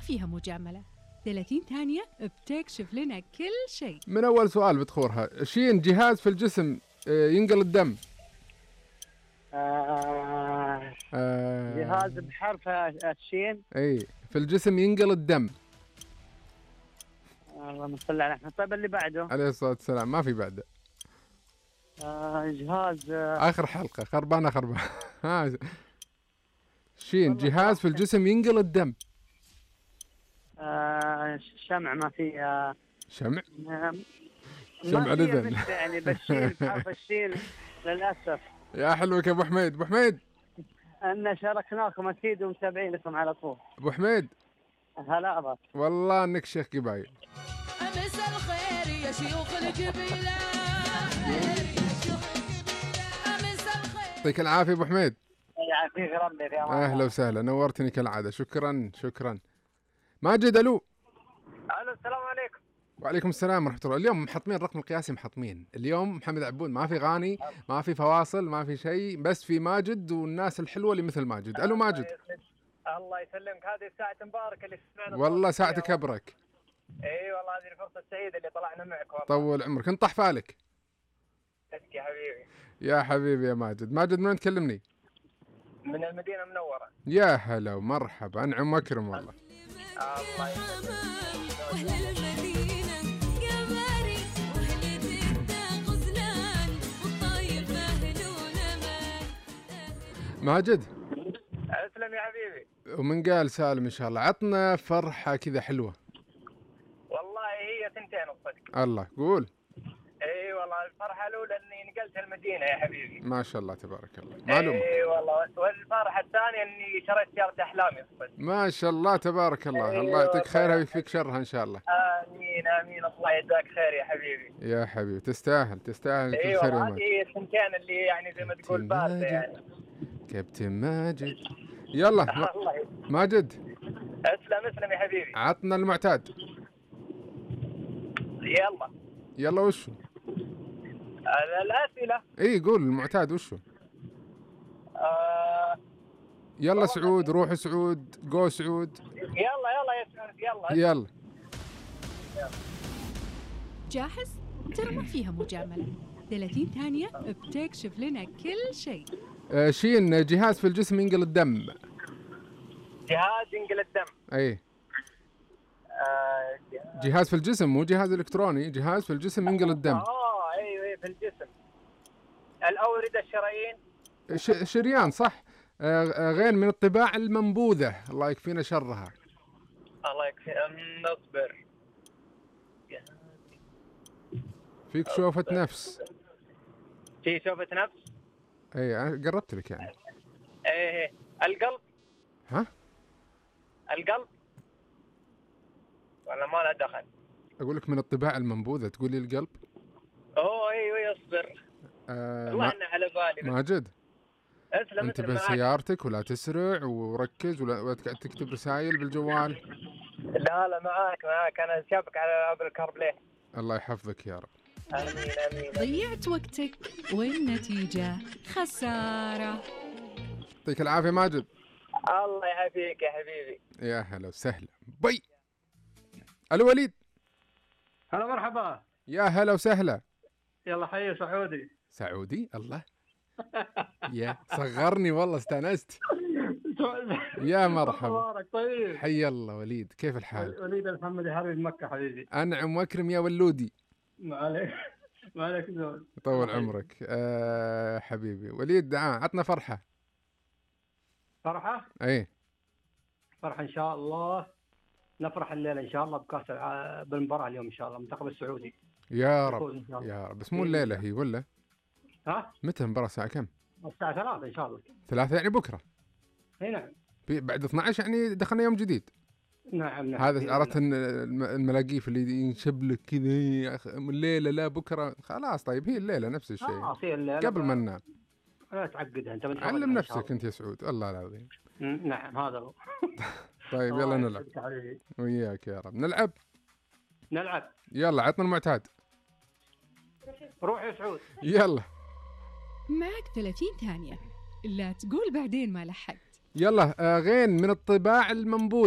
فيها مجاملة. 30 ثانية بتكشف لنا كل شيء. من أول سؤال بتخورها. شين جهاز في الجسم ينقل الدم. جهاز بحرف الشين. اي في الجسم ينقل الدم. اللهم صل على محمد. طيب اللي بعده. عليه الصلاة والسلام. ما في بعده. جهاز آخر حلقة خربانة. شين جهاز في الجسم ينقل الدم. شمع. ما في شمع لذن يعني بشيل بحرف الشين للأسف. يا حلوك يا أبو حميد. أبو حميد أن شاركناكم أكيد ومتابعينكم على طول. أبو حميد هلا أبا. والله إنك شيخ قبايل. أمس الخير يا شيوخ الجبيلة. يعطيك العافية أبو حميد. يعافيك ربي. يا أهلا وسهلا نورتني كالعادة. شكرا. ماجد ألو. السلام عليكم. وعليكم السلام ورحمة الله. اليوم محطمين الرقم القياسي. اليوم محمد عبود ما في غاني ما في فواصل ما في شيء بس في ماجد والناس الحلوة اللي مثل ماجد. ألو ماجد. الله يسلمك. هذه الساعة مباركة اللي سمعنا. والله ساعتك أبرك. اي والله هذه الفرصة السعيدة اللي طلعنا معك والله. طول عمرك. انت طح فالك يا حبيبي. يا حبيبي يا ماجد. من وين تكلمني؟ من المدينة المنورة. يا هلا ومرحبا. أنعم وأكرم والله. الله يسلمك. ماجد اسلم يا حبيبي. ومن قال سالم إن شاء الله. عطنا فرحة كذا حلوة. والله هي ثنتين الصدق. الله قول. اي والله الفرحة الأولى إني نقلت المدينة يا حبيبي. ما شاء الله تبارك الله. معلومة. اي والله. والفرحة الثانية إني شريت سيارة أحلامي الصدق. ما شاء الله تبارك الله. الله يعطيك خيرها ويكفيك شرها إن شاء الله. آمين آمين. الله يجزاك خير يا حبيبي. يا حبيبي تستاهل كل خير يا والله ماجد. هذه الثنتين اللي يعني زي ما تقول باردة يعني. كابتن ماجد. يلا ماجد. اسلم يا حبيبي. عطنا المعتاد. يلا وشو الأسئلة؟ اي قول المعتاد وشو. يلا سعود. روح سعود. جو سعود. يلا يا سعود. يلا جاهز؟ ترى ما فيها مجاملة. 30 ثانية بتكشف لنا كل شيء. شين جهاز في الجسم ينقل الدم. جهاز ينقل الدم. اي جهاز في الجسم مو جهاز الكتروني. جهاز في الجسم ينقل الدم. ايوه في الجسم. الأوردة الشرايين. شريان صح. غين من الطباع المنبوذة. الله يكفينا شرها. الله يكفي. نصبر. فيك شوفة نفس. في شوفة نفس. اي انا قربت لك يعني. ايه القلب. ها القلب ولا ما له دخل؟ اقول لك من الطباع المنبوذة تقول لي القلب. ايوه اصبر. الله انه على بالي. ماجد اسلم. انتبه سيارتك ولا تسرع وركز ولا تكتب رسائل بالجوال. لا معاك انا شابك على ابل كاربلاي. الله يحفظك يا رب. امين. ضيعت وقتك والنتيجة خسارة. يعطيك العافية ماجد. الله يعافيك يا حبيبي. يا هلا وسهلا. بي. الو وليد. هلا مرحبا. يا هلا وسهلا. يلا حي سعودي. الله يا صغرني والله استانست. يا مرحبا. طيب حي الله وليد. كيف الحال؟ وليد الحمد لله حبيب مكة حبيبي. أنعم وأكرم يا ولودي. ما عليك زول. طول عمرك. حبيبي وليد. عطنا فرحة. ايه فرحة ان شاء الله. نفرح الليلة ان شاء الله بكاس بالمباراة اليوم ان شاء الله المنتخب السعودي. يا رب يا رب. بس مو الليلة هي ولا؟ متى المباراة الساعة كم؟ الساعة 3 ان شاء الله. 3 يعني بكرة. اي نعم. بعد 12 يعني دخلنا يوم جديد. نعم. هذا عرفت الملاقيف اللي ينشب لك كذا الليلة لا بكرة. خلاص طيب هي الليلة نفس الشيء. قبل ما ننام. لا تعقدها انت. علم نفسك انت يا سعود. الله العظيم. نعم هذا هو. طيب يلا نلعب. وياك يا رب. نلعب. يلا عطنا المعتاد. روح يا سعود. يلا معك 30 ثانية. لا تقول بعدين ما لحقت. يلا غين من الطباع المنبوذة.